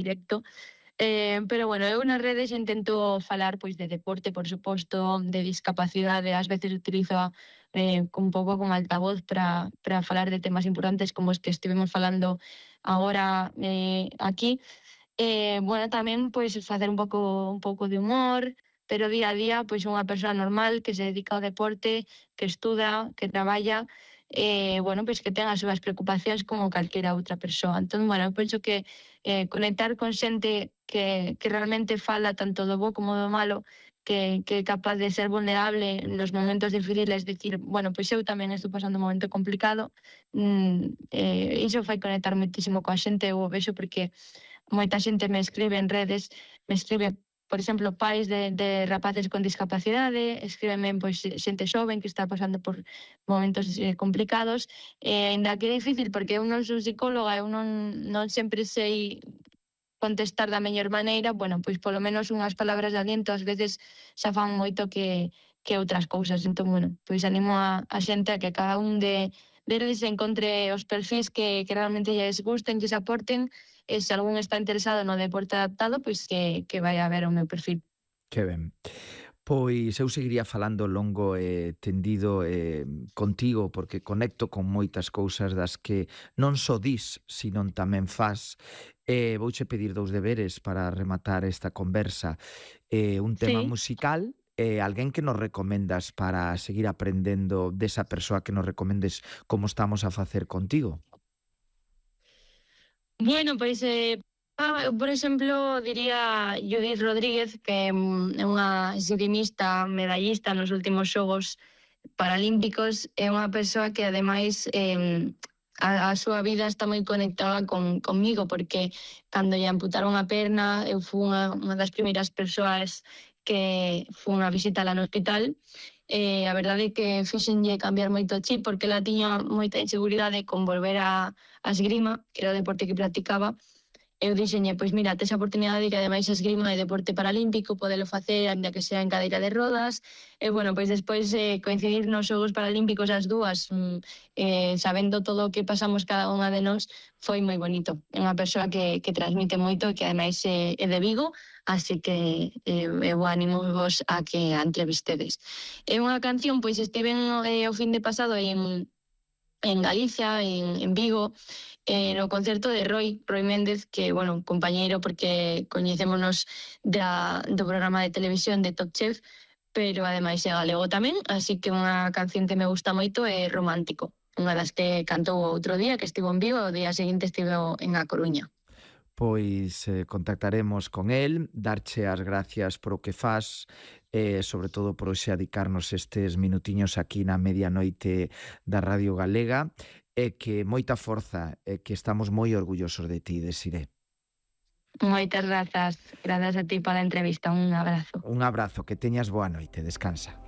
directo. Pero bueno, eu nas redes intento falar pois de deporte, por suposto, de discapacidade, ás veces utilizo un pouco como altavoz para falar de temas importantes como os que estivemos falando agora aquí. Bueno, tamén pois facer un pouco de humor, pero día a día pois unha persoa normal que se dedica ao deporte, que estuda, que traballa, bueno, pois que ten as súas preocupacións como calquera outra persoa. Entón, bueno, eu penso que conectar con xente que realmente fala tanto do bo como do malo, que é capaz de ser vulnerable nos momentos difíciles, decir, bueno, pois eu tamén estou pasando un momento complicado, iso fai conectar moitísimo coa xente, eu o vexo porque moita xente me escribe en redes, me escribe, por exemplo, pais de rapaces con discapacidade, escríbeme pois xente xoven que está pasando por momentos complicados, aínda que é difícil porque eu non son psicóloga, eu non sempre sei contestar da mellor maneira, bueno, pois polo menos unhas palabras de aliento ás veces xa fan moito que outras cousas. Entón, bueno, pois animo a xente a que cada un deles encontre os perfis que realmente lles gusten, que se aporten, e se algún está interesado no deporte adaptado, pois que vai a ver o meu perfil. Que ben. Pois eu seguiría falando longo e tendido contigo porque conecto con moitas cousas das que non só dis, sino tamén fas. Vouche pedir dous deberes para rematar esta conversa. Un tema Sí. musical e alguén que nos recomendas para seguir aprendendo desa persoa que nos recomendes como estamos a facer contigo. Bueno, pois, eu, por exemplo, diría Judith Rodríguez, que é unha esgrimista medallista nos últimos xogos paralímpicos, é unha persoa que ademais a súa vida está moi conectada conmigo, porque cando lle amputaron a perna, eu fui unha das primeiras persoas que fun a visitala no hospital. A verdade é que fixenlle cambiar moito o chip, porque ela tiña moita inseguridade con volver a esgrima, que era o deporte que practicaba. Eu dixenlle, pois mira, tes a oportunidade de que ademais a esgrima é deporte paralímpico, podelo facer, ainda que sea en cadeira de rodas. E bueno, pois despois coincidir nos Xogos Paralímpicos as dúas, sabendo todo o que pasamos cada unha de nós, foi moi bonito. É unha persoa que transmite moito e que ademais é de Vigo, así que eu animo vos a que a entrevistedes. É unha canción, pois estiven o fin de pasado en Galicia, en Vigo, no concerto de Roy Méndez, que, bueno, compañeiro porque coñecémonos do programa de televisión de Top Chef, pero ademais é galego tamén, así que unha canción que me gusta moito é Romántico, unha das que cantou outro día, que estivo en Vigo, o día seguinte estivo en A Coruña. Pois contactaremos con el, darche as gracias por o que fas, sobre todo por hoxe adicarnos estes minutiños aquí na medianoite da Radio Galega, e que moita forza, e que estamos moi orgullosos de ti, Desiré. Moitas grazas a ti pola entrevista, un abrazo. Un abrazo, que teñas boa noite, descansa.